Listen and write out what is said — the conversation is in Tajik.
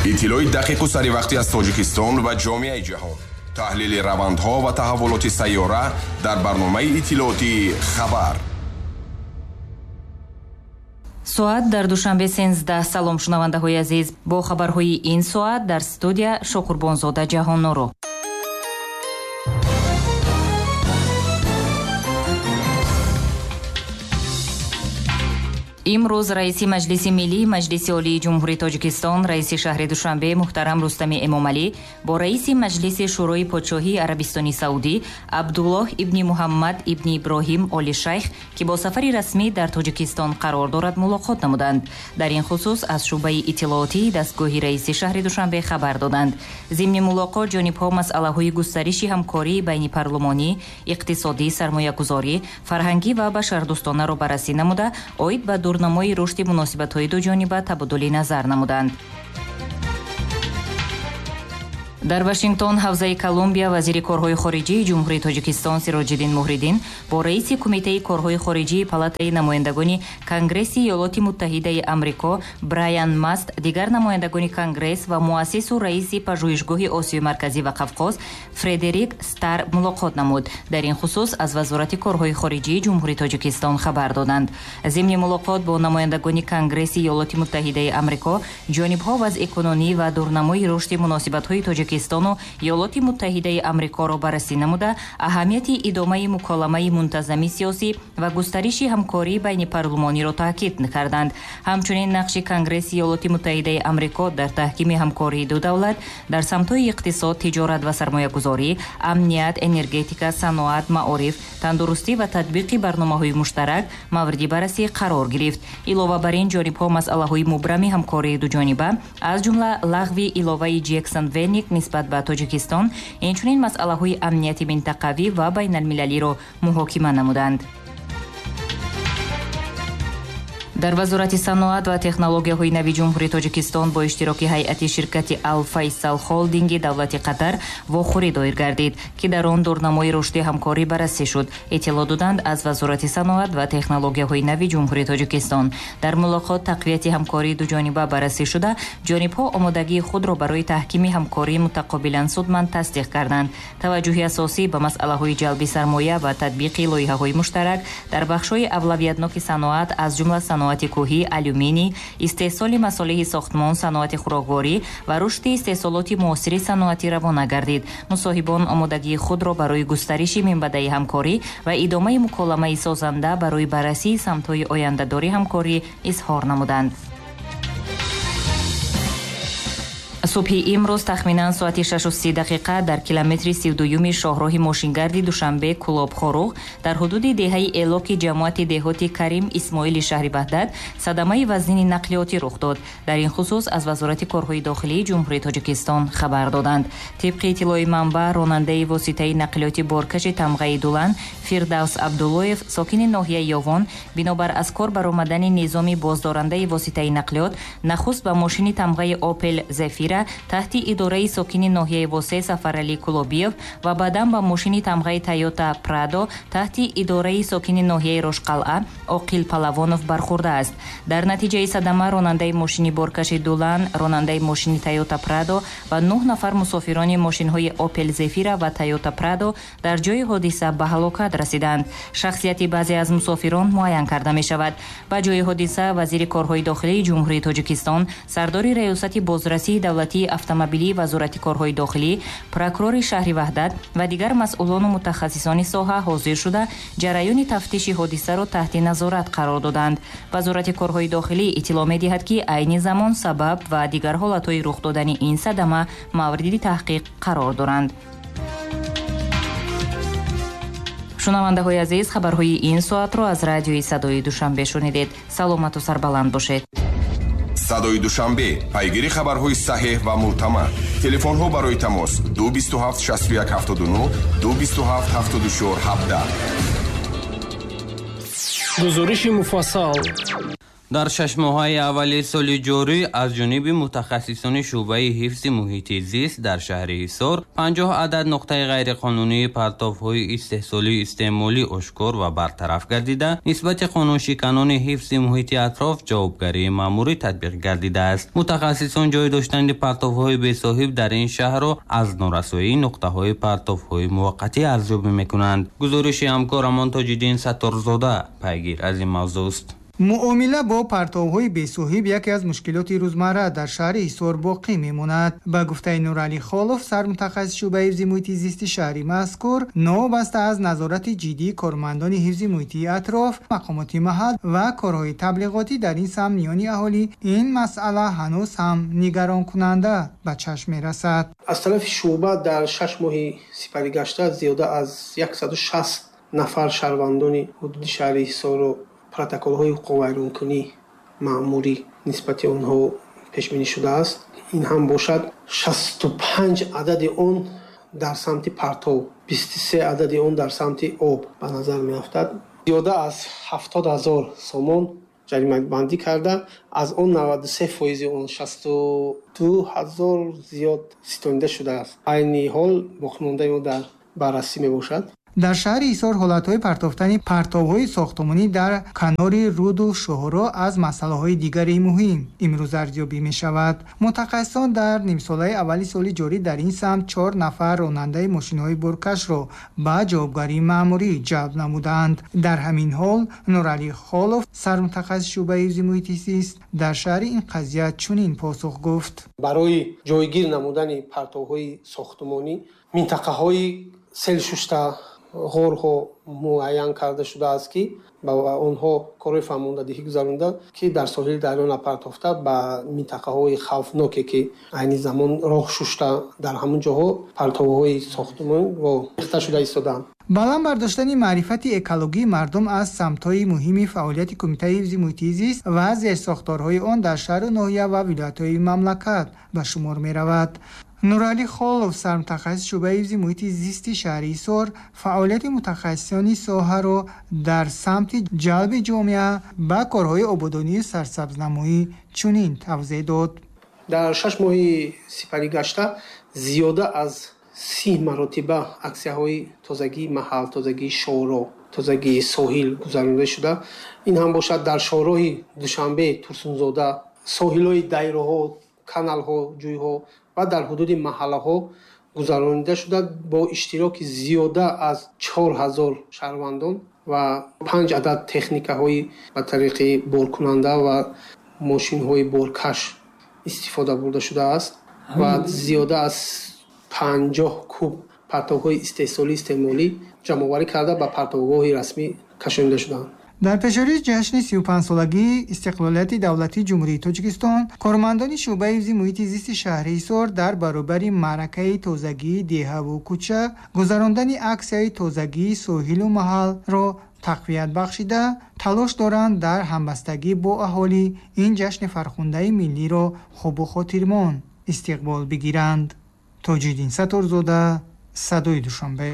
Иттилои дақиқу саривақтӣ аз Тоҷикистон ва ҷомеаи ҷаҳон, таҳлили равандҳо ва таҳаввулоти сайёра дар барномаи иттилоотии «Хабар». Соат дар Душанбе 13. Салом, шунавандаҳои азиз, бо хабарҳои ин соат дар студия Шоқурбонзода Ҷаҳонноро. Имрӯз раиси Маҷлиси Миллии Маҷлиси Олии Ҷумҳурии Тоҷикистон, раиси шаҳри Душанбе муҳтарам Рустами Эмомалӣ бо раиси Маҷлиси Шӯрои Подшоҳии Арабистони Саудӣ Абдуллоҳ ибни Муҳаммад ибни Иброҳим Оли Шайх, ки бо сафари расмӣ дар Тоҷикистон қарор дорад, мулоқот намуданд. Дар ин хусус аз шӯъбаи иттилоотии дастгоҳи раиси шаҳри Душанбе хабар доданд. Зимни мулоқот ҷонибҳо масъалаҳои густариши ҳамкории байни парлумонӣ, иқтисодӣ, сармоягузорӣ, фарҳангӣ ва башардӯстонаро баррасӣ намуда, оид ба дурнамои рушди муносибатҳои дуҷониба табодули назар намуданд. Дар Вашингтон, ҳавзаи Колумбия, вазири корҳои хориҷии Ҷумҳурии Тоҷикистон Сироҷиддин Муҳриддин бо раиси Кумитаи корҳои хориҷии Палатаи намояндагони Конгресси Иёлоти Муттаҳидаи Амрико Брайан Маст, дигар намояндагони Конгресс ва муассису раиси Пажӯҳишгоҳи Осиёи Марказӣ ва Қавқоз Фредерик Стар мулоқот намуд. Дар ин хусус аз Вазорати корҳои хориҷии Ҷумҳурии Тоҷикистон хабар доданд. Зимни мулоқот бо намояндагони Конгресси Иёлоти Муттаҳидаи Амрико ҷонибҳо вазъи кунунӣ ва дурнамои рушди муносибатҳои Тоҷикистону Иёлоти Муттаҳидаи Амрикоро баррасӣ намуда, аҳамияти идомаи муколамаи мунтазами сиёсӣ ва густариши ҳамкории байни парлумониро таъкид карданд. Ҳамчунин нақши Конгресси Иёлоти Муттаҳидаи Амрико дар таҳкими ҳамкории ду давлат дар самтҳои иқтисод, тиҷорат ва сармоягузорӣ, амният, энергетика, саноат, маориф, тандурустӣ ва татбиқи барномаҳои муштарак мавриди баррасӣ қарор гирифт. Илова бар ин, ҷонибҳо масъалаҳои мубрами ҳамкории дуҷониба, аз ҷумла лағви иловаи Ҷексон Веник нисбат ба Тоҷикистон, инчунин масъалаҳои амнияти минтақавӣ ва байналмилалиро муҳокима намуданд. Дар Вазорати саноат ва технологияҳои нави Ҷумҳурии Тоҷикистон бо иштироки ҳайати ширкати Алфайсал Холдинги давлати Қатар вохӯрӣ доир гардид, ки дар он дурнамои рушди ҳамкорӣ баррасӣ шуд, иттилоъ доданд аз Вазорати саноат ва технологияҳои нави Ҷумҳурии Тоҷикистон. Дар мулоқот тақвияти ҳамкории дуҷониба баррасӣ шуда, ҷонибҳо омодагии худро барои таҳкими ҳамкории мутақобилан судманд тасдиқ карданд. Таваҷҷӯҳи асосӣ ба масъалаҳои ҷалби сармоя ва татбиқи лоиҳаҳои муштарак дар бахшҳои авлавиятноки саноат, аз ҷумла саноати кӯҳӣ, алюминий, истеҳсоли масолеҳи сохтмон, саноати хӯрокворӣ ва рушди истеҳсолоти муосири саноатӣ равона гардид. Мусоҳибон омодагии худро барои густариши минбаъдаи ҳамкорӣ ва идомаи муколамаи созанда барои баррасии самтҳои ояндадори ҳамкорӣ изҳор намуданд. Субҳи имрӯз тахминан соати 6:30 дар километри 32-юми шоҳроҳи мошингарди Душанбе Кулоб Хоруғ дар ҳудуди деҳаи Элоки ҷамоати деҳоти Карим Исмоили шаҳри Ваҳдат садамаи вазнини нақлиётӣ рух дод. Дар ин хусус аз Вазорати корҳои дохилии Ҷумҳурии Тоҷикистон хабар доданд. Тибқи иттилои манбаъ, ронандаи воситаи нақлиёти боркаши тамғаи Дулан Фирдавс Абдуллоев, сокини ноҳияи Ёвон, бинобар аз кор баромадани низоми боздорандаи воситаи нақлиёт нахуст ба мошини тамғаи Опел Зефира таҳти идораи сокини ноҳияи Восе Сафаралӣ Кулобиев ва баъдан ба мошини тамғаи Тойота Прадо таҳти идораи сокини ноҳияи Рошқалъа Оқил Палавонов бархӯрдааст. Дар натиҷаи садама ронандаи мошини боркаши Дулан, ронандаи мошини Тойота Прадо ва 9 нафар мусофирони мошинҳои Опел Зефира ва Тойота Прадо дар ҷои ҳодиса ба ҳалокат расиданд. Шахсияти баъзе аз мусофирон муайян карда мешавад. Ба ҷои ҳодиса вазири корҳои дохилии Ҷумҳурии Тоҷикистон, сардори Раёсати бозрасии давлатии автомобилии Вазорати корҳои дохилӣ, прокурори шаҳри Ваҳдат ва дигар масъулону мутахассисони соҳа ҳозир шуда, ҷараёни тафтиши ҳодисаро таҳти назорат қарор доданд. Вазорати корҳои дохилӣ иттилоъ медиҳад, ки айни замон сабаб ва дигар ҳолатҳои рух додани ин садама мавриди таҳқиқ қарор доранд. Шунавандаҳои азиз, хабарҳои ин соатро аз радиои Садои Душанбе шунидед. Саломату сарбаланд бошед. Садои Душанбе, пайгири хабарҳои саҳеҳ ва мӯътамад. Телефонҳо барои тамос 227 61 79, 227 74 17. Гузориши муфассал. Дар 6 моҳаи аввали соли ҷорӣ аз ҷониби мутахассисони шӯъбаи ҳифзи муҳити зист дар шаҳри Ҳисор 50 адад нуқтаи ғайриқонунии партовҳои истеҳсолию истеъмолӣ ошкор ва бартараф гардида, нисбати қонуншиканони ҳифзи муҳити атроф ҷавобгарии маъмурӣ татбиқ гардидааст. Мутахассисон ҷой доштани партовҳои бесоҳиб дар ин шаҳрро аз норасоии нуқтаҳои партовҳои муваққатӣ арзёбӣ мекунанд. Гузориши ҳамкорамон Тоҷиддин Сатторзода пайгир аз ин мавзӯъст. Муомила бо партовҳои бесоҳиб яке аз мушкилоти рӯзмарра дар шаҳри Ҳисор боқӣ мемонад. Ба гуфтаи Нуралӣ Холов, сармутахассиси шӯъбаи ҳифзи муҳити зисти шаҳри мазкур, новобаста аз назорати ҷиддии кормандони ҳифзи муҳити атроф, мақомоти маҳал ва корҳои таблиғотӣ дар ин самт миёни аҳолӣ, ин масъала ҳанӯз ҳам нигаронкунанда ба чашм мерасад. Аз тарафи шӯъба дар 6 моҳи сипаригашта зиёда аз 160 нафар шаҳрвандони ҳудуди шаҳри Ҳисорро протоколҳои ҳуқуқвайронкунӣ маъмурӣ нисбати онҳо пешбинӣ шудааст. Ин ҳам бошад 65 адади он дар самти партов, 23 адади он дар самти об ба назар меафтад. Зиёда аз 70 ҳазор сомон ҷаримабандӣ карда, аз он 93% он 62 ҳазор зиёд ситонида шудааст. Айни ҳол боқимондаи он дар баррасӣ мебошад. Дар шаҳри Ҳисор ҳолатҳои партофтани партовҳои сохтмонӣ дар канори руду шоҳроҳ аз масъалаҳои дигари муҳим имрӯз арзёбӣ мешавад. Мутахассисон дар нимсолаи аввали соли ҷорӣ дар ин самт 4 нафар ронандаи мошинҳои боркашро ба ҷавобгарии маъмурӣ ҷалб намуданд. Дар ҳамин ҳол Нуралӣ Холов, сармутахассиси шӯъбаи ҳифзи муҳити зист дар шаҳри ин қазия чунин посух гуфт: барои ҷойгир намудани партовҳои сохтмонӣ минтақаҳои селшушта ғорҳо муайян карда шудааст, ки ба онҳо корҳои фаҳмондадиҳӣ гузаронда, ки дар соҳили дарё напартофта ба минтақаҳои хавфноке, ки айни замон роҳ шушта, дар ҳамон ҷоҳо партовҳои сохтмонро рехта шуда истодаанд. Баланд бардоштани маърифати экологии мардум аз самтҳои муҳими фаъолияти Кумитаи ҳифзи муҳити зист ва зерсохторҳои он дар шаҳру ноҳия ва вилоятҳои мамлакат ба шумор меравад. Нуралӣ Холов, сармутахассиси шӯъбаи ҳифзи муҳити зисти шаҳри Ҳисор, фаъолияти мутахассисони соҳаро дар самти ҷалби ҷомеа ба корҳои ободонию сарсабзнамоӣ чунин тавзеҳ дод. Дар 6 моҳи сипаригашта зиёда аз 30 маротиба аксияҳои тозагии маҳал, тозагии шоҳроҳ, тозагии соҳил гузаронида шуда. Ин ҳам бошад дар шоҳроҳи Душанбе, Турсунзода, соҳилҳои дайроҳо, каналҳо, ҷӯйҳо ва дар ҳудуди маҳаллаҳо гузаронида шуда бо иштироки зиёда аз 4000 шаҳрвандон ва 5 адад техникаҳои ба тариқи боркунанда ва мошинҳои боркаш истифода бурда шудааст ва зиёда аз 50 куб партовҳои истеҳсолӣ истеъмолӣ ҷамъоварӣ карда ба партовгоҳи расмӣ кашонида шудаанд. Дар пешории ҷашни 35-солагии истиқлолияти давлатии Ҷумҳурии Тоҷикистон, кормандони шӯъбаи ҳифзи муҳити зисти шаҳри Ҳисор дар баробари маъракаи тозагии деҳаву кӯча гузарондани аксияи тозагии соҳилу маҳалро тақвият бахшида, талош доранд дар ҳамбастагӣ бо аҳолӣ ин ҷашни фархундаи миллиро хубу хотирмон истиқбол бигиранд. Тоҷиддин Сатторзода, Садои Душанбе.